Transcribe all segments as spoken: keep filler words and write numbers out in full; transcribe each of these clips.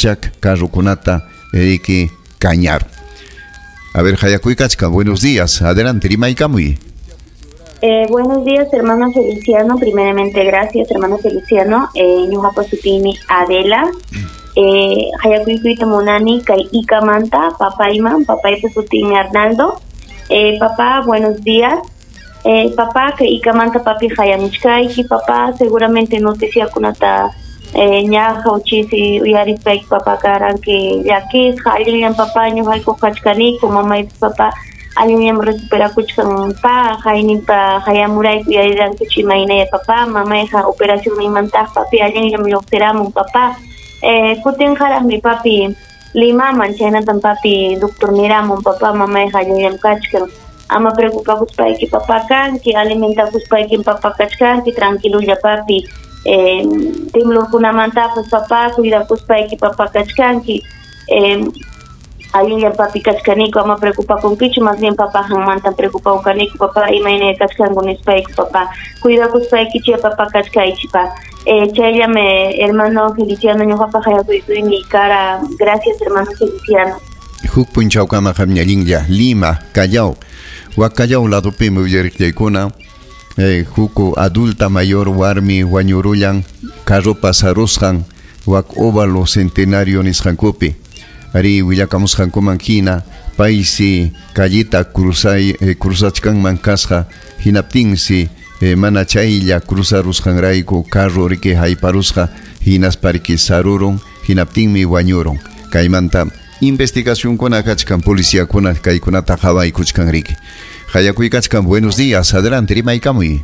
Chak carrukunata riki kañar. A ver, Hayakuykachka, buenos días. Adelante, rimaykamuy. Eh, buenos días, hermano Feliciano. Primeramente, gracias, hermano Feliciano. Eh, ñuqapa sutiymi Adela. Eh, Hayakuykuyta munani kay Ikamanta, papayman, papaypa sutiymi Arnaldo. Eh, papá, buenos días. Eh, papá, kay Ikamanta papi hayamuchkayki. Papá, seguramente noticiakunata eh, ña hawchisi uyarispayki papá karanki llakisqa, allinllam papá ñuqayku kachkaniku, mamaypas papá allinllam recuperakuchkan pa, hayninpa hayamurayku uyarirankichu imaynaya papá, mamayqa operacionninmantaq papi allinllam lluqsiramun papá. Eh, kutinqaraqmi papi Limaman, chaynatam papi doctor niramun papá, mamayqa allinllam kachkan. Ama preocupakuspayki papá kanki, alimentakuspayki papá kachkanki, tranquilulla papi. Eh, temblorkunamantapas papá, cuidakuspayki papá kachkanki. Eh, allinllam papi kachkaniku, ama preocupakunkichu, más bien papá hanmantam preocupawkaniku, papá imayna kachkanku nispayku papá. Cuidakuspaykichik papá kachkaychik pa. Eh, chayllam hermano Feliciano ñuqapa hayakuykuymi kara. Gracias, hermano Feliciano. Huk punchawkama qamñallinlla Lima, Callao. Wak Callao ladupimi willariqllaykuna. Eh, huku adulta mayor warmi wañurullan carropa sarusqan wak óvalo centenario nisqankupi. Ari willakamusqankuman hina paysi callita cruzay eh, cruzachkanman kasqa hinaptinsi eh, mana chaylla cruzarusqanrayku carro riki hayparusqa hinaspa riki sarurun hinaptinmi wañurun. Kaymanta investigacionkuna kachkan policiakuna kaykunata qhawaykuchkan riki. Hayakuykachkan, buenos días, adelante, rimaykamuy.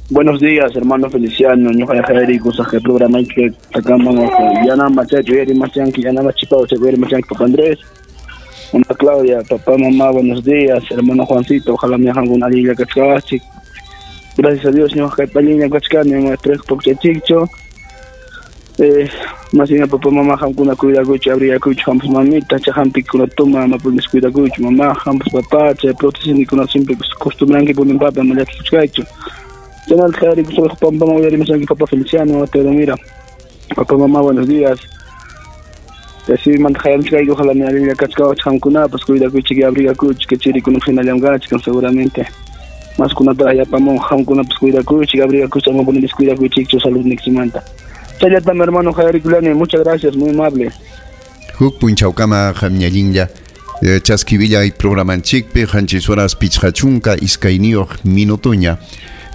Buenos días, hermano Feliciano, ñuqa yachayriku saqe programa que sacamos yana machacho yeri machanki yana machipao yeri machanki papá Andrés, mamá Claudia, papá, mamá, buenos días, hermano Juancito, ojalá me hagan una alilla kachkawachik. Gracias a Dios, ñuqa kaypalliña kachkani, maestro pokchachicho. Eh, más bien papá, mamá, hamkuna cuidakuchi, abrigakuchi, hampus mamita, cha hampikuna toma, ama punis cuidakuchi, mamá, hampus papá, cha prótesis siempre costumbranki punin papa, ama llakikuchkaychu. Chanal jari, papá, mamá, uyarimusanki papá Feliciano, te mira. Papá, mamá, buenos días. Así mantajayamchkayku, ojalá me alilla kachkawach hamkunapas, cuidakuchi, abrigakuchi, que chirikunaq hinallamkachkan seguramente. Más kunata ayapamon, hamkunapas cuidakuchi, abrigakuchi, ama punis cuidakuchichu, salud nikchimanta. Chayllatam, hermano Javier Culani, muchas gracias, muy amable. Huk punchawkama qamñallinlla chaskivilla y programanchikpi qanchis horas pichqachunka iskayniyuq minutuña.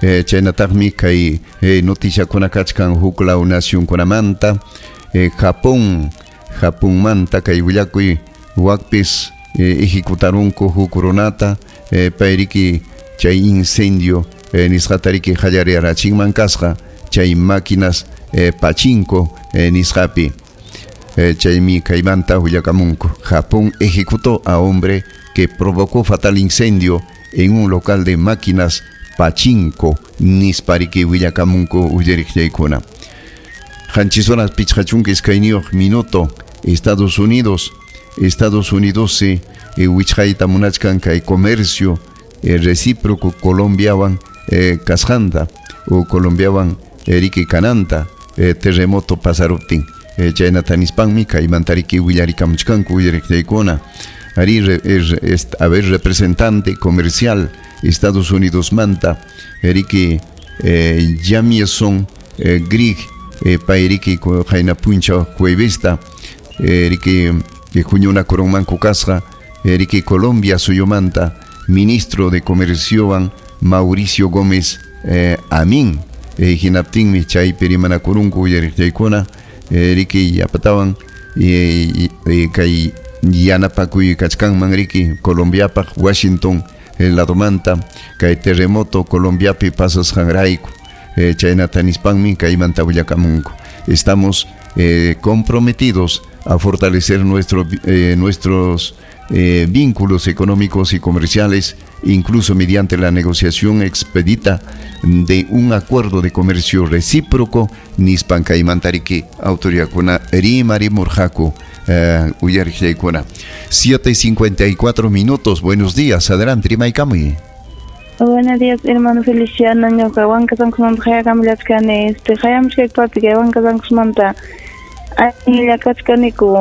Chaynataqmi kay noticiakuna kachkan huklaw nacionkunamanta, Japón, Japonmanta kay willakuy wakpis ejecutarunku huk runata payriki chay incendio nisqatariki qallariyarachinman kasqa chay máquinas Eh, pachinko eh, nisqapi. Eh, chaymi kaymanta willakamunku. Japón ejecutó a hombre que provocó fatal incendio en un local de máquinas pachinko nispariki willakamunku uyariqllaykuna. Qanchis horas pichqachunka iskayniyuq minuto. Estados Unidos, Estados Unidos se eh, wichqayta munachkan kay comercio eh, recíproco Colombiawan eh, kasqanta o Colombiawan eriki kananta eh, terremoto pasaruptin. Eh, chaynata nispanmi kaymantariki willarikamuchkanku uyariqllaykuna. Ari re, er, est, a ver, representante comercial Estados Unidos manta eriki eh, Jamieson eh, Grieg eh, payriki qayna puncha juevesta eriki eh, huñunakurunmanku kasqa eriki Colombia suyumanta ministro de Comerciowan Mauricio Gómez eh, Amin. Eh, hinaptinmi chaypi rimanakurunku uyariqllaykuna riki yapatawan eh, eh, kay yanapakuy kachkanman riki Colombiapaq Washington el ladomanta kay terremoto Colombiapi pasasqanrayku eh, chaynata nispanmi kaymanta willakamunku. Estamos eh, comprometidos a fortalecer nuestro, eh, nuestros eh, vínculos económicos y comerciales, incluso mediante la negociación expedita de un acuerdo de comercio recíproco, nispan kaymantariki autoridadkuna rimari murjaku eh, uyariqllaykuna. siete cincuenta y cuatro minutos, buenos días, adelante, rimaykamuy. Buenos días, hermano Feliciano, ñuqa Huancasankusmanta hayakamllachkani, este hayamuchkayku papi kay Huancasankusmanta. Allinlla kachkaniku.